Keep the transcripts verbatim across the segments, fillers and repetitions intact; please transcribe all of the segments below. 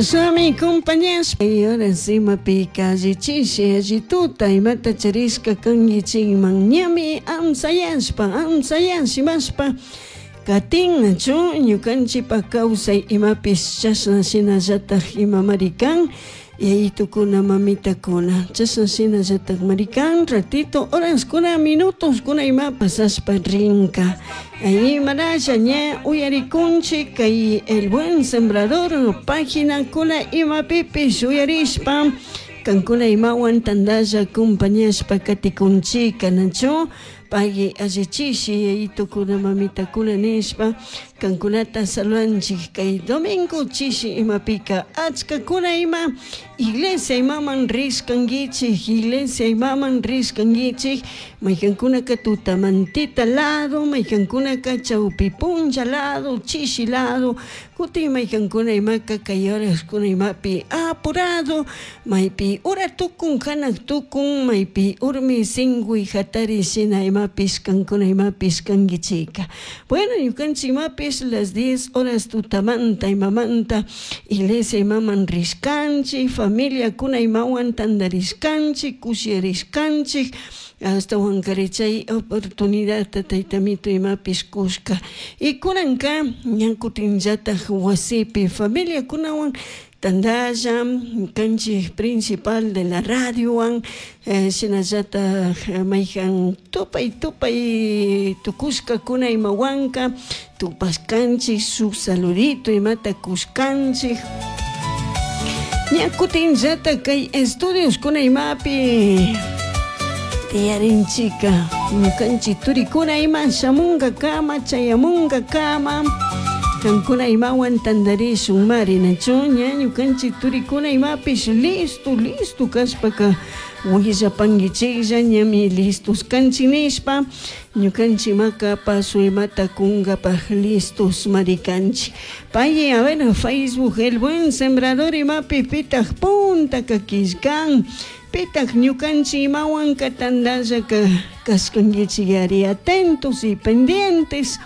Sami compañías horas imapi allichishi allituta imata charishka kankichikman ñami amsayashpa amsayashimashpa katinchu ñukanchikpak kawsay imapish chashna shinallatak imamari kan yayitukuna mamitakuna chashna shinallatakmari kan ratito horaskuna minutoskuna ima pasashpa rinka imaralla ña uyarikunchik kay El Buen Sembrador paginakuna imapipish uyarishpa kankuna imawan tantalla compañashpa katikunchika nachu pagui allichishi yayitukuna mamitakuna nishpa kankunata saludanchik kay domingo chishi imapika achkakuna ima iglesia imaman rishkankichik iglesia imaman rishkankichik maykankunaka tutamantita lado maykankunaka chawpi punlla lado chishi lado kutin maykankuna imaka kay horaskuna imapi apurado maypi ura tukun hanak tukun maypi urmi singuy hatari shina imapish kankuna imapish kankichika bueno ñukanchik imapish las diez horas tutamanta imamanta iglesia imaman rishkanchik familiakuna imawan tantarishkanchik kushirishkanchik ashtawankari chay oportunidadta tayta amito imapish kushka y kunanka ña kutinllatak wasipi familiakunawan tantalla kanchik principal de la radiowan shinallatak mayjan tupay tupay tukushkakuna imawanka tupashkanchik shuk saludito imata kushkanchik ña kutinllatak kay estudios-kuna imapi tiyarinchika ñukanchik turikuna ima shamunkakama chayamunkakama kankuna imawan tantarishun mari nachu ña ñukanchik turikuna imapish listo listo kashpaka willapankichiklla ñami listos kanchik nishpa ñukanchik imaka paso imata kunkapak listos mari kanchik pay a ver Facebook El Buen Sembrador imapi pitak puntaka killkan pitak ñukanchik imawanka tantallaka kashkankichik ari atentos y pendientes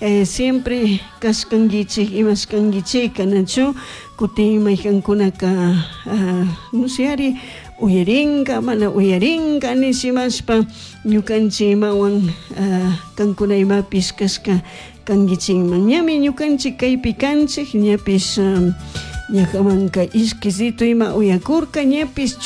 eh, siempre kashkankichik imashkankichika nachu kutin maykankunaka uh, no sé ari uyarinka mana uyarinka nishimashpa ñukanchik imawan uh, kankuna imapish kashka kankichikman ñami ñukanchik kaypi kanchik ñapish um, ñakamanka ishkisito ima uyakurka ñapish